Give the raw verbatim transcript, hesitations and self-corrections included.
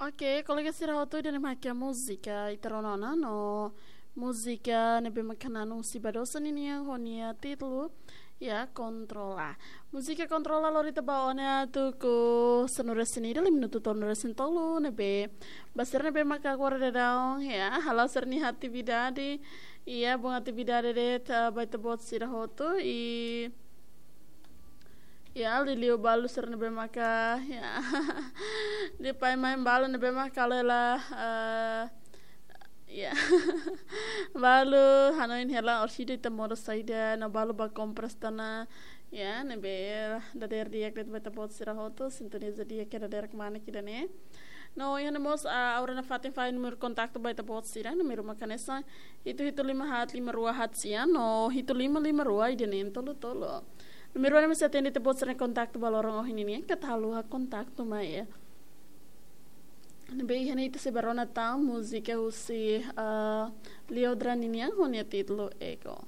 Oke, kolega sira hotu, ida-ne'e mak múzika ita rona ona, no múzika ne'ebé mak hanesan husi Badosa ninian ho nia títulu, ya, Kontrola. Múzika Kontrola lori ita ba ona tuku sanulu-resin-ida, lima minutu tolunulu-resin-tolu, ne'ebé ba sira ne'ebé mak agora daudaun, ya, hala'o sira-nia atividade, ya, bom atividade de'it ba ita-boot sira hotu, i ya, liuliu balu sira ne'ebé maka, ya. Depois mai balu ne'ebé maka halo hela, eh, ya. Balu hanoin hela orsida ita modo saida, no balu ba kompras tiha ona, ya, ne'ebé dadeer di'ak de'it ba ita-boot sira hotu, sintoniza di'ak ke dadeer kemana ida-ne'e. No, iha ne'e mós, ah, agora nafatin fahe númeru kontaktu ba ita-boot sira, númeru mak hanesan hitu hitu lima haat lima rua haat sia, no hitu lima lima rua ida-ne'e tolu tolu. Númeru ne'e mós sei atende ita-boot sira-nia kontaktu ba loron ohin ninian, keta haluha kontaktu mai, ya. Ne'ebé iha ne'e ita sei bá rona tan múzika husi, ah, Leodra ninian ho nia títulu Ego.